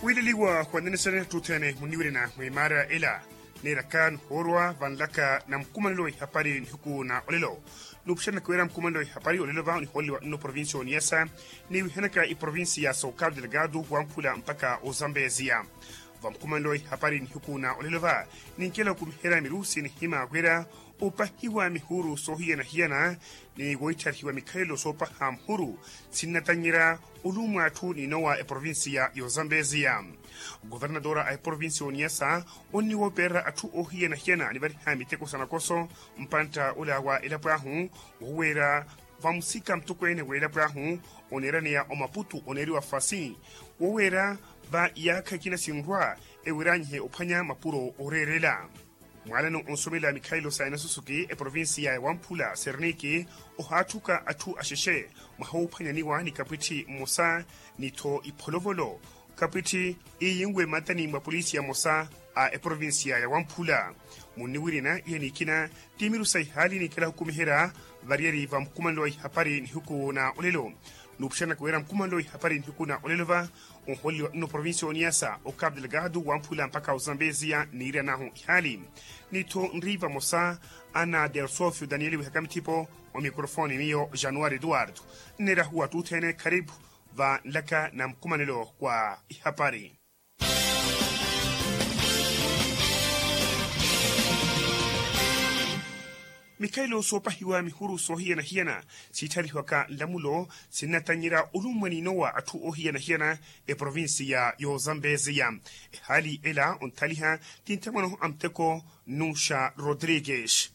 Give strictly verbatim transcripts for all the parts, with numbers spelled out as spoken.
Wiileliwa wa nenesene ttuthene muniwirina mwimaara ela. Neeraka nihoorwa vanlaka na mukumanelo wa ihapari nihiku na olelo. Nuupuxerya nakiwira mukumanelo wa ihapari olelo va onihooliwa nno provincia oniyasa, niwihanaka iprovincia ya socado delgado wamphula mpaka ozambeziya. Va mukumanelo wa ihapari nihiku na olelo va ninkela okumiherya mirusi nihima wira opahiwa mihuru soohiyana-hiyana ni woittarihiwa mikhalelo soopaha muhuru, sinnatannyerya olummwa atthu n'inowa eprovincia y'ozambeziya. Governatora a eprovincia oniyasa onniwoopererya atthu oohiyana-hiyana nivariha miteko sa nakoso mpantta ola wa elapo ahu, woweera vamusika mutokweene w'elapo ahu oneeraneya omaputu oneeriwa fasi, woweera va iyaakha ikina sinrwa ewiranyihe ophwanya mapuro ooreerela. Mwaalano onsumelela mikhalelo sa enasusuki eprovincia ya wamphula serniki ohaatthuka atthu axexe mwaha woophwanyaniwa ni kapwitthi mmosa ni-tho ipholovolo. Kapwitthi iiyinwe mmatani mwa polisi ya mmosa a eprovincia ya wamphula. Munniwirina iya nikina ti miru sa ihaali ninkela hukumiherya variyari va mukumanelo wa ihapari nihiku na olelo. Nuupuxerya nakiwira mukumanelo wa ihapari nihiku na olelo va onhooleliwa nno provincia oniyasa o cabo delgado wamphula mpaka ozambeziya niirya nahu ihaali. Ni-tho nri vamosa ana delsofio daniel wihaka mithipo. Omikrofoni miyo januari eduardo. Nneerahuwa ttuthene kharipu va nlaka na mukumanelo wa ihapari. Mikhalelo soopahiwa mihuru soohiyana-hiyana siittharihwaka nlamulo sinnatannyerya olummwa n'inowa atthu oohiyana-hiyana eprovincia y'ozambeziya. Ehaali ela onthaliha ti nthamwano a muteko nuxa rodrigues.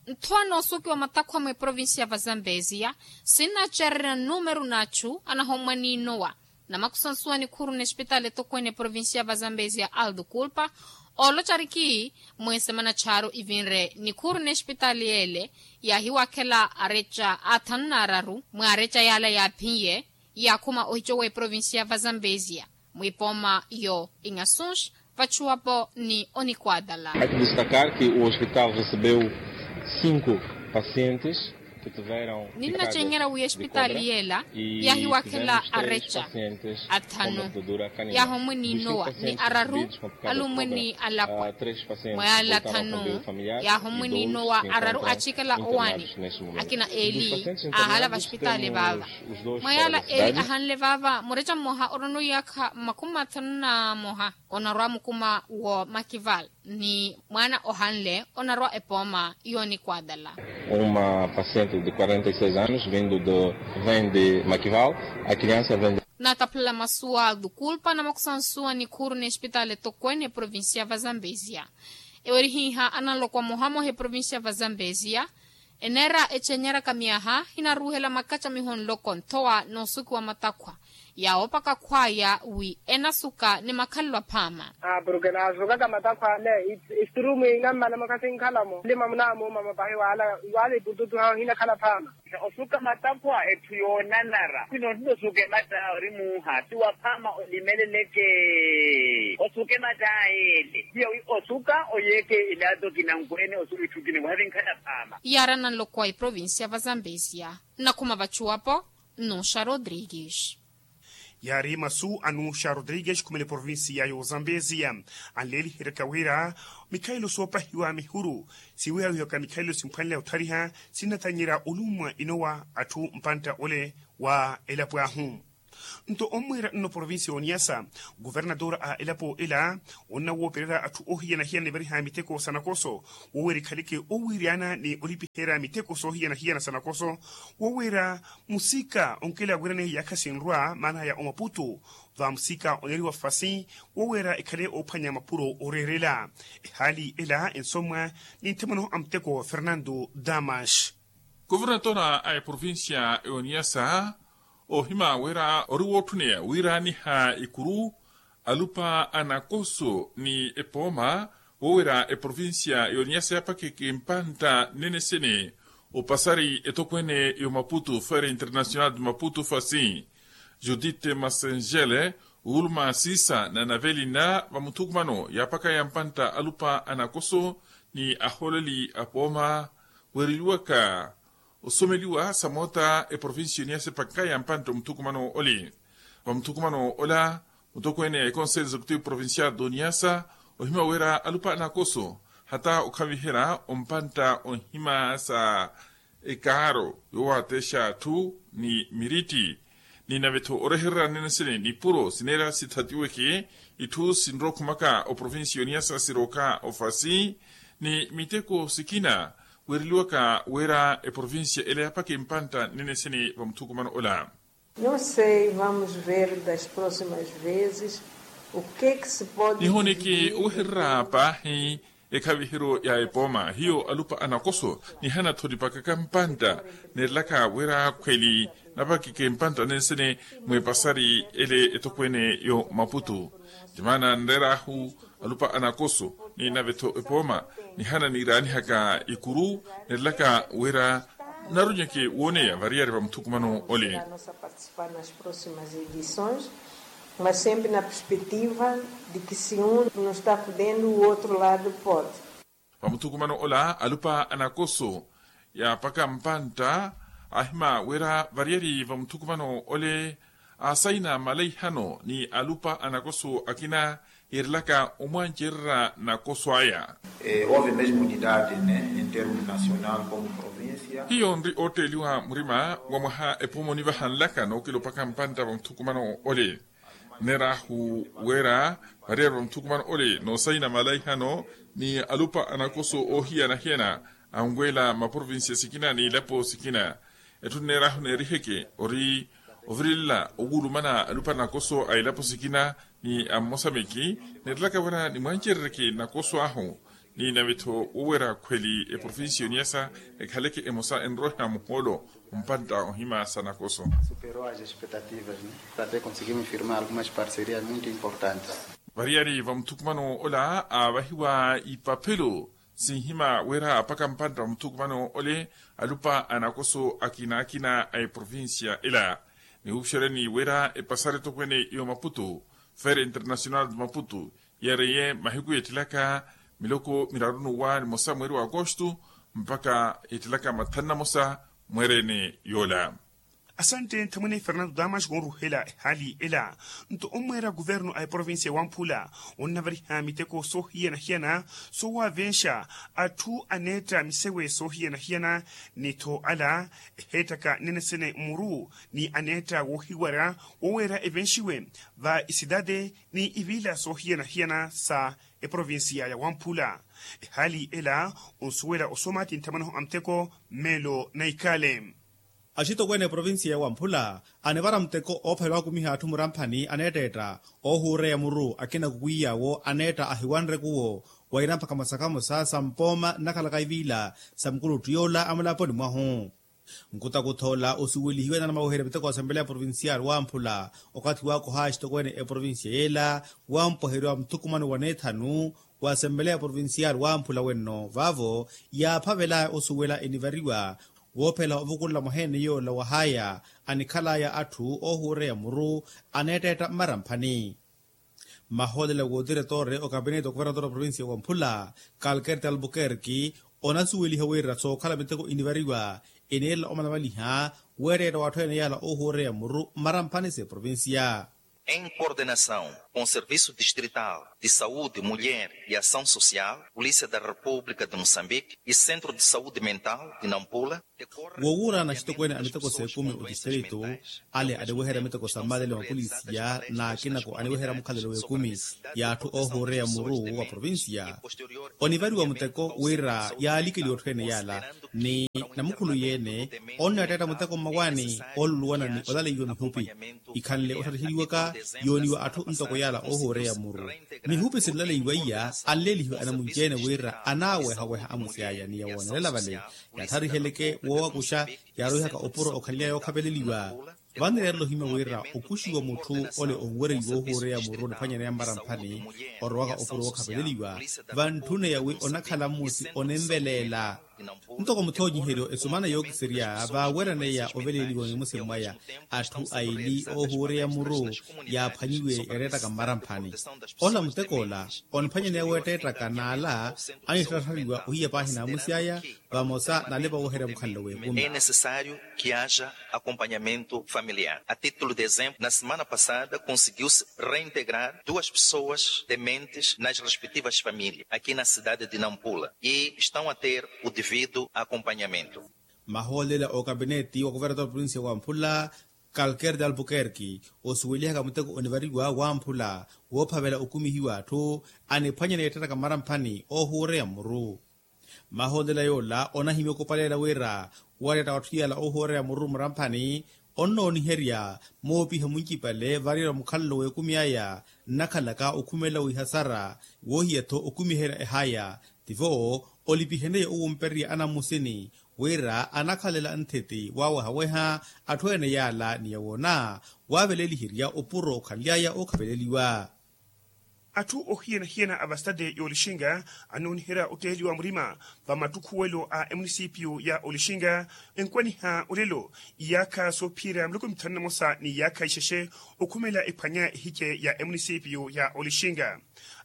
Nthwa noosukiwa matakhwa mwa eprovincia va zambeziya sinnacererya numeru n'achu anahommwa n'inowa na makusansuwa nikhuru n'espitaali etokweene eprovincia va zambeziya aldo kulpa. Ooloca ariki mweesemana charu ivinre nikhuru n'espitaali yeele yaahiwakhela areca athanu n'araru mwaareca yaala yaaphiye yaakhuma ohico w'eprovincia va zambeziya mwipooma yo ingasunx vachuwapo ni onikwaatala. Haki destacar que o hospital recebeu cinco pacientes. Ninnacennyerya wi espitaali yeela yaahiwakhela areca athanu yaahommwe n'inowa ni araru alummwe ni alapwa mwa yaala athanu yaahommwe n'inowa araru achikela owaani. Akina eeli aahala vaspitaali vaava mwa yaala eeli ahanle vaava mureca mmoha orona oyaakha makhumi athanu na moha onarwa mukuma wo makival ni mwaana ohanle onarwa epooma y'onikwaatala. Uma paciente de quarenta e seis anos vindo de vem de makival. A criança vem de. Naataphulela masu a dukulpa na makusansuwa nikhuru n'espitaali etokweene eprovincia va zambeziya ewerihiha ananloko amohamoha eprovincia va zambeziya eneera ecennyeraka myaha hinaruuhela makacamiho nloko nthowa noosukiwa matakhwa yaawoopaka khwaya wi enasuka ni makhalelo aphaama. Porke naasukaka matakhwa ale esturumu inammana mukha sinkhalamo lima munaamuuma mapahi wala ipututu hahu hinakhala phaama. Osuka matakhwa etthu yoonanara khwino nnosuke mata ori muuha ti waphaama olimeleleke. Osuke mata yeele hiyo wi osuka oyeeke ilato kinankweene osuka itthu kinankweene wahavinkhala phaama. Yaarana nloko a eprovincia va zambeziya nnakhuma vachuwapo nnuxa rodrigues. Yaari masu a nuxa rodrigues khumene provincia y'ozambeziya anleeliheryaka wira mikhalelo soopahiwa mihuru siwihawihaka mikhalelo simphwanela othariha sinnatannyerya olummwa inowa atthu mpantta ole wa elapo ahu. Nto ommweera nno provincia y'oniyasa guvernatora a elapo ela onnawoopererya atthu ohiyanahiyana nivariha miteko sa nakoso woweera ekhaleke owiiryana ni olipiherya miteko soohiyanahiyana sa nakoso woweera musika onkela wiiraneya iyaakha sinrwa maanaya omaputu va musika oneeriwa fasi woweera ekhale oophwanya mapuro ooreerela. Ehaali ela ensomwa ni nthamwano a muteko fernando damas. Kuvernatora a eprovincia y'oniyasa ohima wira ori wootthuneya wiiraaniha ikuru alupa a nakoso ni epooma woowira eprovincia y'oniyasa yapakheke mpantta nnenesene opasari etokweene y'omaputu feira internacional de maputu fasi judite masengele wuluma siisa na navelina va muthukumano yaapakaya mpantta alupa a nakoso ni ahooleli a pooma weereliwaka osomeliwa sa moota eprovincia y'oniyasa epakaya mpantta omuthukumano ole. Va muthukumano ola Mutokweene a ekonselho executivo provincial d'oniasa ohima wira alupa anakoso hata okhaviherya ompantta onhima sa ekaaro yoowatexa atthu ni miritti ni navetho orehererya nene sene nipuro sineera sithatiweke itthu sinrokhumaka oprovincia yoniasa sirooka ofasi ni miteko sikina weereliwaka wira eprovincia ela yapaka empantta nene sene vamuthukumano ola. Não sei, vamos ver das próximas vezes o que que se pode nihoneke owehererya paahi ekhaviheryo ya epooma hiyo alupa anakoso nihana-tho nipakaka mpantta neerelaka wira khweli napakeke mpantta nensene mw'epasari ele etokweene yo maputu. Timaana nreer'ahu alupa anakoso ni nave-tho epooma nihana niiraanihaka ikuru neerelaka wira naronyeke wooneya variyari vamuthukumano ole. Participa nas próximas edições, mas sempre na perspectiva de que se um não está podendo o outro lado pode. Vamuthukumano ola alupa anakoso yaapaka mpantta ahima wira variyari vamuthukumano ole asaina malaihano ni alupa anakoso akina yeerelaka omwancererya nakoso aya. Hove mesmo unidade ne en termo nacional como provincia. Hiyo nri ootteeliwa murima wa mwaha epooma onivaha nlaka nookilopaka mpantta vamuthukumano ole. Nneer'ahu wira variyari vamuthukumano ole noosaina malaihano ni alupa anakoso oohiyana-hiyana anweela maprovincia sikina n'ilapo sikina. Etthu nneer'ahu neeriheke ori ovirilela owulumana alupa nakoso a ilapo sikina ni ammosameki neerelaka wira nimwancerereke nakoso ahu ni nave-tho woweera khweli eprovincia yoniasa ekhaleke emosa enroha muhoolo ompantta ohima sa nakoso. Superou as expectativas, né? Para até conseguirmos firmar algumas parcerias muito importantes. Variyari vamuthukumano ola aavahiwa ipaphelo sinhima wira apaka mpantta muthukumano ole alupa anakoso akina-akina a eprovincia ela. Nihuupuxeryani wira epasari etokweene yo maputu, feira internacional de maputu, yeereye mahiku yeettelaka miloko miraru n'uwa nimosa mweeri wa akostu mpakha yeettelaka mathanu na mosa mweerene yoola. Asante nthamwene fernando damas wooruhela ehaali ela. Nto omweera kuvernu a eprovincia ya wamphula onnavariha miteko soohiyana-hiyana soowavenxa atthu aneetta misewe soohiyana-hiyana ni-tho ala eheettaka nene sene muru ni aneetta woohiwarya woweera evenxiwe va isidade ni ivila soohiyana-hiyana sa eprovincia ya wamphula. Ehaali ela onsuwela osooma ti nthamwanaho a muteko mmeelo na ikale. Axitokweene eprovincia ya wamphula anivara muteko oophavela wakumiha atthu muramphani aneetteetta oohuureya muru akina kukwiy'awo aneetta ahiwanre kuwo waira mpakha masakamosa sa mpooma nnakhalaka iviila sa mukuluttu yoola amulaponi mwahu. Nkutakutha ola osuwelihiwe namaweherya miteko asempeleya provincial wamphula okathi waakoha axitokweene eprovincia yeela wampwaheriwa muthukumano wa neethanu wa asempeleya provincial wamphula wenno vaavo yaaphavelaya osuwela enivariwa woophela ovukulela mwaheene yoola wahaya anikhalaya atthu oohuureya muru aneetteetta mmaramphani. Mahoolela wootiretore okapineeti okuvernatora provincia wamphula kalkerte albukerki onasuweliha wira sookhala miteko inivariwa eneerela omanavaliha weereetta watthu ene yaala oohuureya muru mmaramphani s'eprovincia. Em coordenação com serviço distrital de saúde mulher e ação social, polícia da república de moçambique e centro de saúde mental de nampula. Woowuurana axitokweene a miteko s'ekumi otistrito ale aniweherya miteko sa mmalele mapolisiya n'akinako aniweherya mukhalelo w'ekumi y'atthu oohuureya muru wa provincia onivariwa muteko wira yaalikeliwa otthu ene yaala ni namukhulu yeene onneetteetta muteko mmawaani ooluluwana ni olaleiwa mihupi ikhanle otthariheriwaka yooniwa atthu ntoko yaala oohuureya muru mihupi sinlaleiwa iya anleelihiwe anamunci-ene wira anaawehaweha amusi aya ni yawoonelela vale yatthariheleke woowakuxa yaarowihaka opuro okhalinaya yookhapeleliwa. Vano yaarela ohimya wira okuxiwa mutthu ole onwereiwa oohuureya muru niphwanyaneya mmaramphani orowaka opuro wookhapeleliwa vantthune yawi onakhala mmusi oninveleela Ntoko muthoonyiheryo esumana yookiserya vaaweraneiya oveleeliwa nimusi mwaya atthu aili oohuureya muru yaaphwanyiwe yareettaka mmaramphani. Ola mutek'ola oniphwanyaneya weetteettaka n'ala anittatthariwa ohiya paahi n'amusi aya vamosa n'alepa wooherya mukhalelo w'ekumi. É necessário que haja acompanhamento familiar. A título de exemplo, na semana passada conseguiu-se reintegrar duas pessoas dementes nas respectivas famílias aqui na cidade de Nampula e estão a ter o devido acompanhamento. Mahoolela okapineti wa kuvernator provincia wa mphula, calker de albuquerque, osuwelihaka muteko onivariwa wa mphula woophavela okumihiwa atthu aniphwanyana yeettettaka mmaramphani oohuureya muru. Mahoolela yoola onahimya okupaleela wira wareetta watthu yala oohuureya muru mmaramphani onnooniherya moopiha muncipale variyerya mukhalelo w'ekumi aya nnakhalaka okhumelela wihasara woohiya-tho okumiherya ehaya. Tivo olipiheneye owumpererya anamusini wira anakhalela nthiti waawehaweha atthu ene yaala ni yawoona waaveleliherya opuro okhanly'aya ookhaveleliwa. Atthu ohiyana-hiyana a vasitade y'olixinga anooniherya otteeliwa murima va mattukhuwelo a emunisipiyu ya olixinga. Enkwaniha olelo iyaakha soophiyerya miloko mithanu na mosa ni iyaakha ixexe okhumela ephwanya ehice ya emunisipiyu ya olixinga.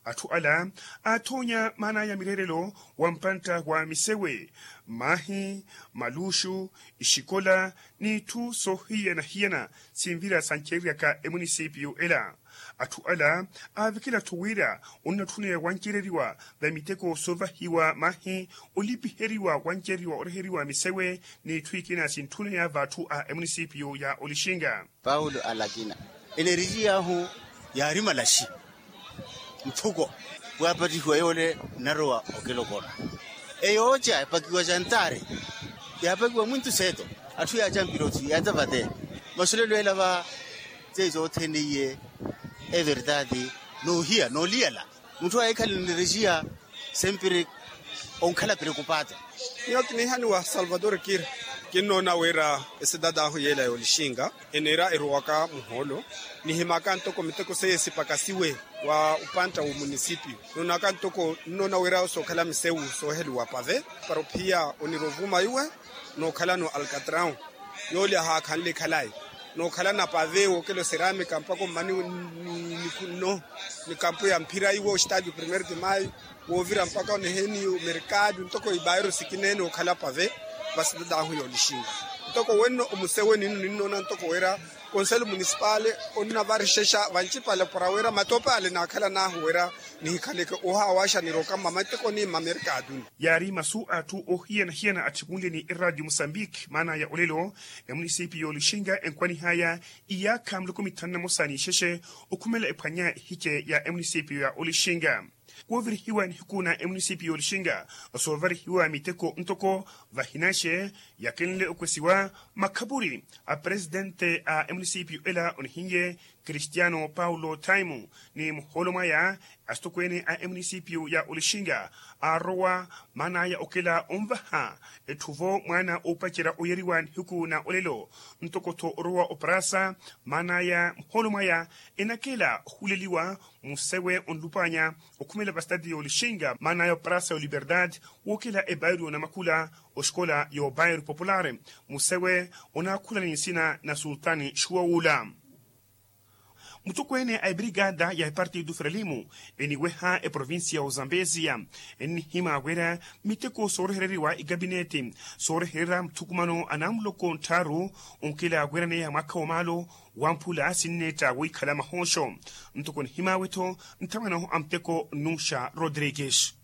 Atthu ala aathoonya maan'aya mireerelo wa mpantta wa misewe, maahi, maluuxu, ixikola n'itthu soohiyana-hiyana sinvira sancereryaka emunisipiyu ela. Atthu ala aavikela-tho wira onnatthuniwa wancereriwa va miteko soovahiwa maahi olipiheriwa wancereriwa oreheriwa misewe n'itthu ikina sintthuniwa v'atthu a emunisipiyu ya olixinga. Paulo alakina enerejiy'ahu yaari malaxi. Mphuko waapattihiwa yoole nnarowa okilokona eyooca epakiwa jantaari yaapakiwa mwintu seeto. Atthu yaacampira oti yaata vate masulelo ela va seiso othene iye. Everdade noohiya nooliyala mutthu ahikhale nirixiya sempiri onkhala preocupato. Miyo kiniihaniwa salvador kira kinnoona wira esidade ahu yeela yoolixinga eniira eruwaka muhoolo nihimaka ntoko miteko seiye sipakasiwe wa upantta w'omunisipio noonaka ntoko nnoona wira sookhala misewu sooheliwa pave para ophiya oniira ovuma iwe nookhalano alcatraw yoolya haakhanle khalayi nookhalana pave wookela oseramika mpaka ommani ni nikunno ni kampu ya mphira iwe ostadio primeiro de maio woovira mpaka oneheni omerkado ntoko ibairu sikina ene okhala pave. Vasitadahu yoolixinga ntoko wenno omuseweni nno ninnoona ntoko wira konselo munisipale onnavarixexa vancipale para wira matope ale naakhalanahu wira nihikhaleke ohaawaxa niroka mmamattekoni mmamerkaduni. Yaari masu a atthu ohiyana-hiyana atthikunleni eradio musambiki maana ya olelo emunisipiyu yoolixinga enkwanih'aya iyaakha miloko mithanu na mosa n'ixexe okhumela ephwanya ehice ya emunisipiyu ya olixinga. Woovirihiwa nihiku na emunisipiyu yoolixinga osoovarihiwa miteko ntoko vahinaxe yakenle okwesiwa makhapuri a presidente a emunisipiyu ela onihinye cristiano paulo taimu ni muhoolo mwaya asitokweene a emunisipiyu ya olixinga aarowa maan'aya okela onvaha etthu-vo mwaana oopacerya oyeriwa nihiku na olelo ntoko-tho orowa oparasa maan'aya muhoolo mwaya enakela ohuleliwa musewe onlup'anya okhumela vasitati y'olixinga maan'aya oparasa y'oliverdade wookela ebairu y'onamakula oxikola y'obairu popular musewe onaakhula ni nsina na sultani xuwawula. Mutokweene a ebrigada ya epartido frelimo eniweha eprovincia ya ozambesia ennihima wira miteko soorehereriwa igabinete sooreherera muthukumano anamuloko nttharu onkela wiraneya mwaakha wa maalo wamphula sinneetta woikhala mahooxo ntoko nihimaawe-tho nthamwanahu a muteko nnuxa rodrigues.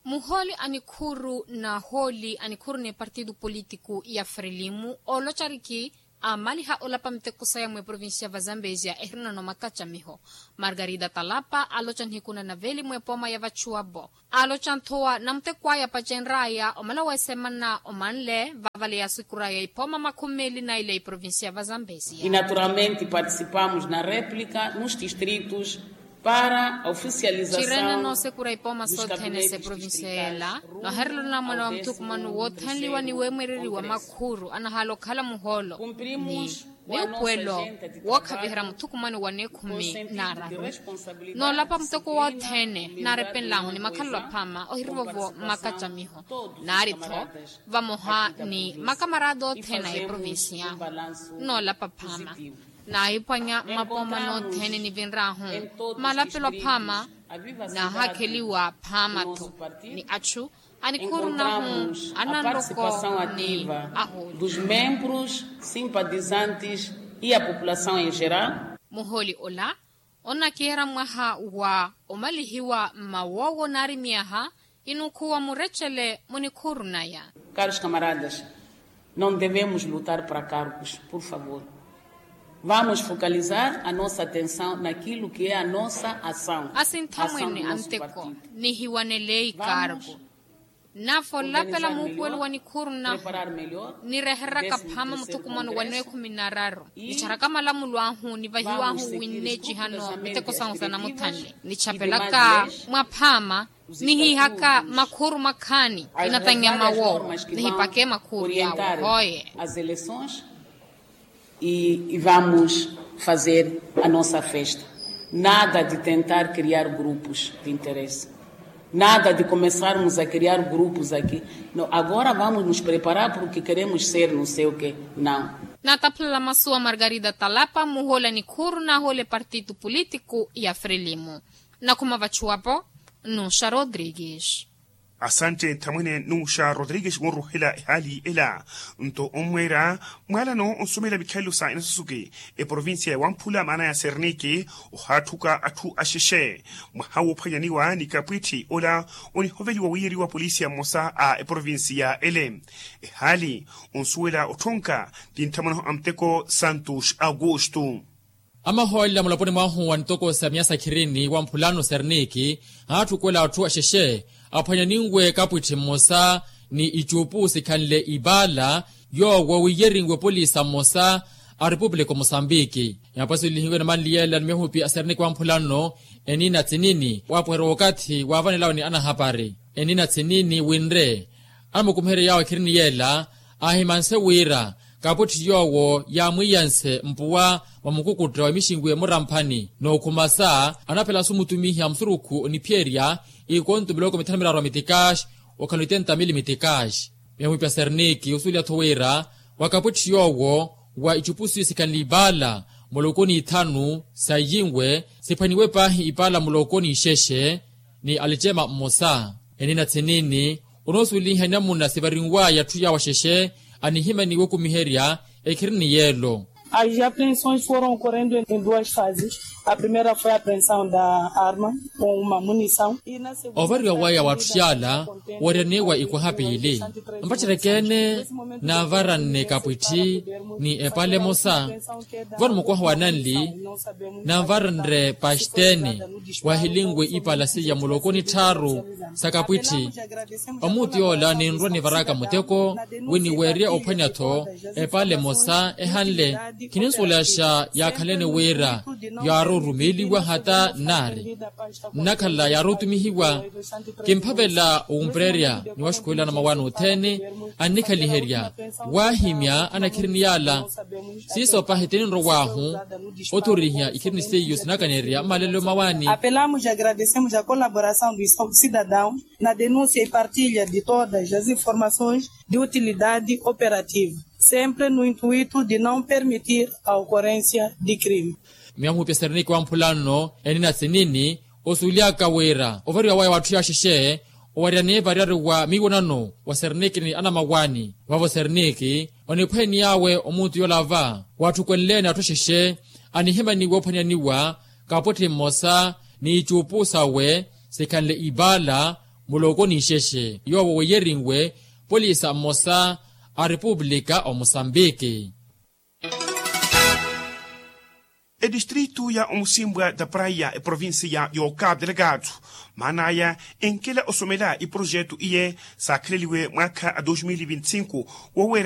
Muhooli a nikhuru n'ahooli a nikhuru n'epartido politiku ya frelimo ooloca ariki aamaliha olapa miteko saya mweprovincia va zambesia ehirina nomaka ca miho margarida talapa aaloca nihiku na naveli mwepooma ya vachuwa bo aaloca nthowa na muteko aya apacenr'aya omala wesemana omanle vavale yaasikura ya ipooma makhumi meeli na ile iprovincia va zambesia. E naturalmente participamos na replica nos distritos para a oficialização. Cirene noosekura ipooma sothene s'eprovincia y'ela nooherela onamwana wa muthukumano woothanliwa ni weemwereriwa makhuru anahaala okhala muhoolo ni Wiipuwelo wookhaviherya muthukumano wa neekhumi n'araru. Noolapa muteko wothene naarepenlahu ni makhalelo aphama ohirivovo makacamiho naari-tho vamoha ni makamarata othene a eprovincia. Noolapa aphama naahiphwanya mmapooma nothene nivinrahu malapelo aphama. Naahakheliwa aphama-tho ni achu anikhurunahu ananroko ni ahuuli. Dos membros simpatizantes e a população em geral. Muhooli ola onakiherya mwaha wa omalihiwa mmawoowo naari myaha inukhuwa murecele munikhurunaya. Caros camaradas, não devemos lutar para cargos, por favor. Vamos focalizar a nossa atenção naquilo que é a nossa ação. Asinthamwene a nteko nihiwanele ikargo. Naafolapela muupuwelo wa nikhurunahu nirehereraka phama muthukumano wa neekhumi n'araru nicharaka malamulo ahu nivahiwahu winneecihano miteko sahu sa namuthanle nichapelaka mwaphama nihihaka makhuru makhaani inatanyaama wo nihipake makhuru yawo hoye. As eleições e vamos fazer a nossa festa. Nada de tentar criar grupos de interesse. Nada de começarmos a criar grupos aqui. Agora vamos nos preparar porque queremos ser não sei o que. Não. Naataphulela masu a margarida talapa muhola nikhuru nahole partitu politiku ya frelimo. Nakhuma vachuwapo nuxa rodrigues. Asante nthamwene nuxa rodrigues wonruhela ehaali ela. Nto onmweera mwaalano onsomela mikhalelo sa enasusuke eprovincia ya wamphula maana ya sernike ohaathuka atthu axexe mwaha woophwanyaniwa ni kapwitthi ola onihoveliwa wiyeriwa polisia mmosa a eprovincia ele. Ehaali onsuwela otthonka ti nthamwene a muteko santos augusto. Amahoolela mulaponi mwahu wa nitoko sa miyasa khirini wa mphulano serniki aatthukweela atthu axexe aphwanyaninwe kapwitthi mmosa ni icuupu sikhanle ipaala yoowo wiyerinwe polisa mmosa a repupulika o mosambiki. Yaapasulilihiwe namanliyela ni mihupi a serniki wa mphulano enina tsinini waapuherya wookathi waavanelawe ni anahapari enina tsinini winre anamukumiherye yaawo ekhirini yeela aahimanse wira kapwitthi yoowo yaamwiiyanse mpuwa mwa mukukutta wa mixinwi emura mphani nookhumasa anaphela-su mutumihi a musurukhu oniphiyerya ikonto miloko mithanu miraru a mitikaxi okhala oitenta mili mitikaxi. Miya mwipi a serniki osuweliya-tho wira wa kapwitthi yoowo wa icupusi sikhanle ipaala muloko ni ithanu sa iyinwe siphwaniwe paahi ipaala muloko ni ixexe ni alicema mmosa enina tsinini onoosuweliha enamuna sivarinwaya atthu yaawo axexe anihimaniwe okumiherya ekhirini yeelo. As apreensões foram ocorrendo em duas fases. A primeira foi a apreensão da arma com uma munição. Ovariwa waya wa atthu yaala owaryanewa ikwaha piili mpacereke-ene naavaranne kapwitthi ni epaala emosa vano mukwaha wa nanli naavaranre paxitene wahilinwe ipaala seiya muloko ni tthaaru sa kapwitthi. Omuutu yoola ninrwa nivaraka muteko wi niweerya ophwanya-tho epaala emosa ehanle khininsuwelaxa yaakhalene wira yaari orumeeliwa hata nnaari nnakhala yaari otumihiwa. Kimphavela owumpererya ni waxukuwela anamawaani othene annikhaliherya waahimya anakhirini yaala siiso pahi tininrow'ahu othorihiya ikhirini seiyo sinakanerya mmalelo mawaani. Apelamos e agradecemos a colaboração dos cidadãos na denúncia e partilha de todas as informações de utilidade operativa sempre no intuito de não permitir a ocorrência de crime. Miya muhupi a serniki wa mphula nno enina tsinini osuweliyaka wira ovariwa waya w'atthu yaaxexe owariyani variyari wa miiwonano wa serniki ni anamawaani vavo serniki oniphweeniy'awe omuutu yoola va waatthukwenleene atthu axexe anihimaniwe ophwaniyaniwa kapwetthi mmosa ni icuupu sawe sikhanle ipaala muloko ni ixexe yoowo weiyerinwe polisa mmosa a repupulika o mosambiki. Etistritu ya omusimbwa da praia eprovincia y'okapu delegado maan'aya enkela osomela iprojetu iye saakheleliwe mwaakha a dos mil e vinte e cinco wowe